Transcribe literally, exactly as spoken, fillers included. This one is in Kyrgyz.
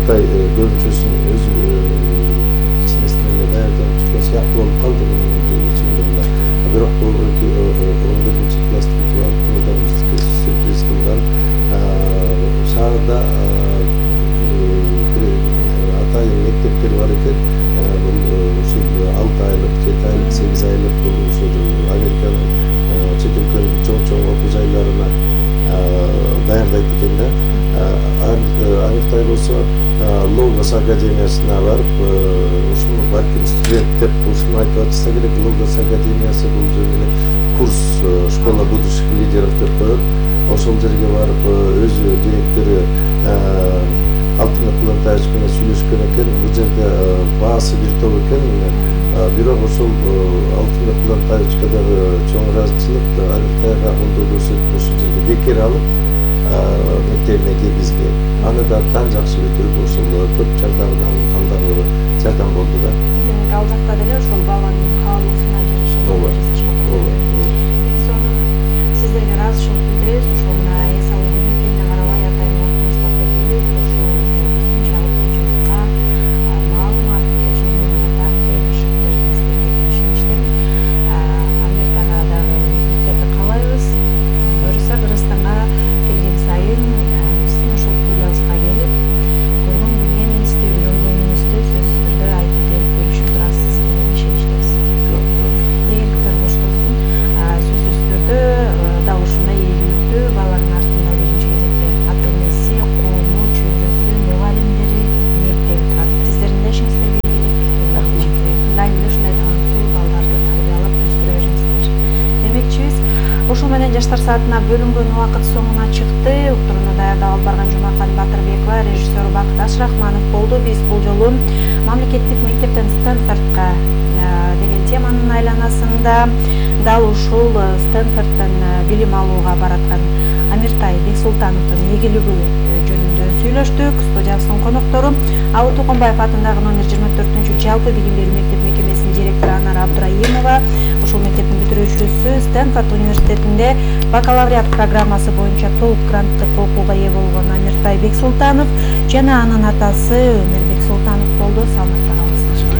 Амиртай көбүнчөсүн өзү кичинесинен эле даярданып чыккан сыяктуу болуп калды мунун ичинде. Бирок бул он биринчи класс бүтүп алып бизге сюрприз кылган. Шаарда атайын мектептер бар экен. Бул ушул алты айлык, жети айлык, сегиз айлык бул ушул Американын чет өлкөнүн чоң-чоң окуу жайларына даярдайт экен да. Амиртай болсо Логос академиясына барып, ушуну балким студент деп ушуну айтып атса керек. Логос академиясы бул жерде курс школа будущих лидеров деп коет. Ошол жерге барып өзү директору Алтын Кулантаевич менен сүйлөшкөн экен. Бул жерде баасы бир топ экен. Бирок ошол Алтын Кулантаевичке дагы чоң ыраазычылык, Амиртайга колдоо көрсөтүп ошол жерге бекер алып мектебине киргизген. Аны да таң жакшы бүтүрүп ошол көп жардамдан андагы жардам болду да. Демек ал жакта деле ошол баланын каалоосуна жараша жасашка болду. Эң сонун сиздерге ыраазычылык билдиребиз. Ошол мына эс алуу күнүнө карабай атайын убактыбызды бөлүп ошол биздин жалпы журтка маалымат ошол менен катар беришип бердиңиздерге ишеништим. Амиртайга дагы мектепти каалайбыз. Буюрса Кыргызстанга келген сайын биздин ошол студиябызга келип көргөн билгениңизди, үйрөнгөнүңүздү сөзсүз түрдө айтып берип бөлүшүп турасыз деген ишеничтебиз. Эгер боштосун сөзсүз түрдө дал ушундай ийгиликтүү баланын артында биринчи кезекте ата энеси, коому, чөйрөсү, мугалимдери, мектеби турат. Сиздердин да ишиңиздерге ийгилик. Рахмат. Мындай эле ушундай таланттуу балдарды тарбиялап өстүрө бериңиздер. Демекчибиз, ушул менен жаштар саатына бөлүнгөн убакыт соңуна чыкты. Уктурууну даярдап алып барган Жумакан Батырбекова, режиссер Бакыт Ашрахманов болду. Биз бул жолу мамлекеттик мектептен Стэнфордко деген теманын айланасында дал ушул Стэнфордтон билим алууга бараткан Амиртай Бексултановдун ийгилиги жөнүндө сүйлөштүк. Студиябыздын коноктору Алуу Токонбаев атындагы номер жыйырма төртүнчү жалпы билим берүү мектеп мекемесинин директору Анар Абдраимова, ушул мектептин бүтүрүүчүсү, Стэнфорд университетинде бакалавриат программасы боюнча толук гранттык окууга ээ болгон Амиртай Бексултанов жана анын атасы Өмөр Бексултанов болду. Саламатта.